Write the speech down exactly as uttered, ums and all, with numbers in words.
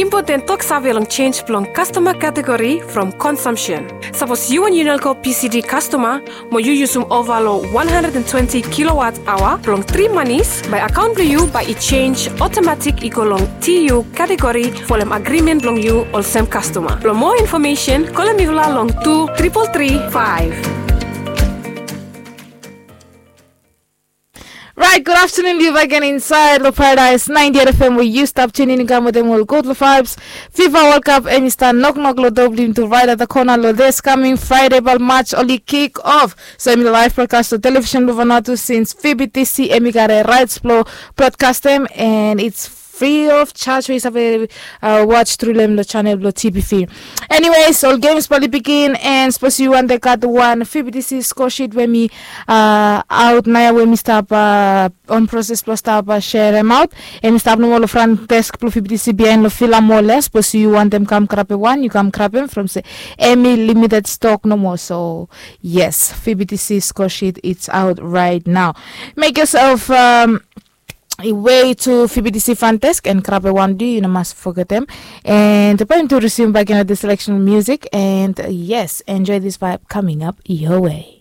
Impoten toksave long sens blong kastoma kategori from konsumsen. Sapos yu wan Unelco P C D kastoma mo yu yusum ova long wan handred and twenti kilowat aoa blong tri manis, bae akaon blong yu bae i sens otomatik i go long T U kategori folem agrimen blong yu olsem kastoma. Blong moa infomesen, kolem mifala long tu tripol tri faef. Right, good afternoon, yu bak gen insaed long Paradise ninety-eight F M we yu stap tunin i kam wetem ol gud long vibes. FIFA World Cup em i stap noknok long do blong yumi tu right at the corner long this coming Friday, but match oli kick off. So em i live broadcast long television blong Vanuatu since V B T C em i gat a rights blong broadcastem, and it's free of charge we yu save uh, watch through lem long channel blong T B V. Anyways, ol games bali begin, and suppose yu want to got one V B T C score sheet we mi uh, out naya we mi stap uh, on process blong stap uh, share em out. Em i stap nomo long front desk blong V B T C behind long Fila Mole. Suppose yu want them come grab one, you come grab him from say em i limited stock nomo. So yes, V B T C score sheet, it's out right now. Make yourself um, way to V B T C front desk and grab a one D, you know, must forget them. And the point to resume back in the selection music. And uh, yes, enjoy this vibe coming up your way.